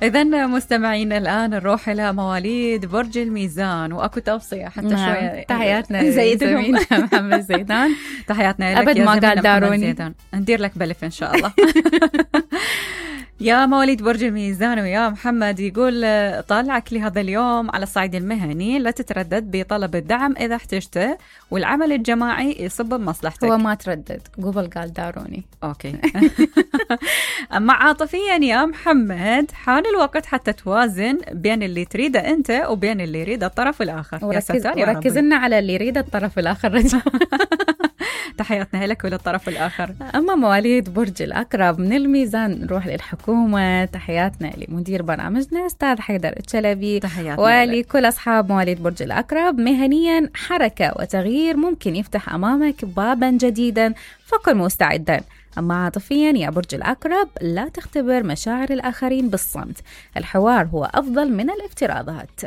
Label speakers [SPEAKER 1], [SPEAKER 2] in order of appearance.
[SPEAKER 1] إذن مستمعين الآن نروح إلى مواليد برج الميزان، وأكو توصية حتى شوية.
[SPEAKER 2] تحياتنا زميلنا محمد زيدان.
[SPEAKER 1] تحياتنا لك
[SPEAKER 2] أبد
[SPEAKER 1] يا
[SPEAKER 2] ما
[SPEAKER 1] زميلنا
[SPEAKER 2] قال داروني.
[SPEAKER 1] محمد زيدان. ندير لك بلف إن شاء الله. يا مواليد برج الميزان ويا محمد، يقول طالعك لهذا اليوم على الصعيد المهني، لا تتردد بطلب الدعم إذا احتجته، والعمل الجماعي يصب بمصلحتك.
[SPEAKER 2] هو ما تردد، قبل قال داروني.
[SPEAKER 1] أوكي. أما عاطفيا يا محمد، حان الوقت حتى توازن بين اللي تريده أنت وبين اللي يريد الطرف الآخر.
[SPEAKER 2] وركز لنا على اللي يريد الطرف الآخر.
[SPEAKER 1] تحياتنا لك وللطرف الآخر.
[SPEAKER 2] أما مواليد برج الأقرب من الميزان نروح للحكومة. تحياتنا لمدير برنامجنا أستاذ حيدر الشلبي، ولكل أصحاب مواليد برج الأقرب. مهنيا حركة وتغيير ممكن يفتح أمامك بابا جديدا، فكن مستعدا. أما عاطفيا يا برج الأقرب، لا تختبر مشاعر الآخرين بالصمت، الحوار هو أفضل من الافتراضات.